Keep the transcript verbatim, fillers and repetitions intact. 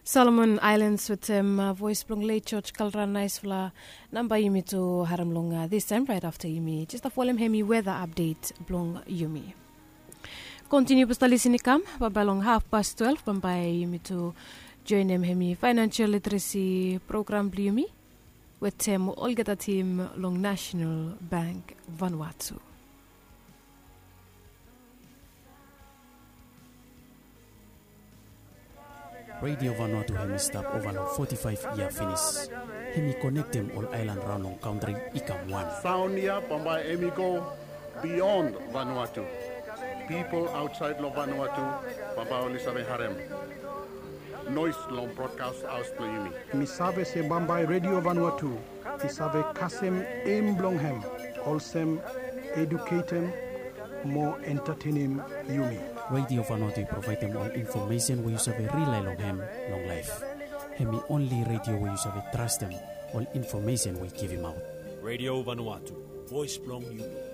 Solomon Ailens wetem voes blong let George Kalra. Naesfala namba yumi tu harem long distaem raet afta yumi jes stap folem hemi weda apdet blong yumi. Kontiniu bambae stap lisin i kam bambae long hafpas twelef bambae yumi tu joenem hemi faenansial literesi program blong yumi wetem olgeta tim long Nasenal Bank Vanuatu. Redio Vanuatu hemi stap ova long foti faef yia finis. Hemi konektem ol aelan raon long kantri i kam wan. Saon ya bambae hemi go bion Vanuatu. Pipol aotsaed long Vanuatu bambae oli save harem noes long brodkas haos blong yumi. Mi save se bambae Redio Vanuatu i save kasem em blong hem olsem eduketem mo entatenem yumi. Redio Vanuatu i provaedem ol infomesen we yu save rilae long hem long laef. Hemi onli redio we yu save trastem ol infomesen we i givimaot. Redio Vanuatu, voes blong yumi.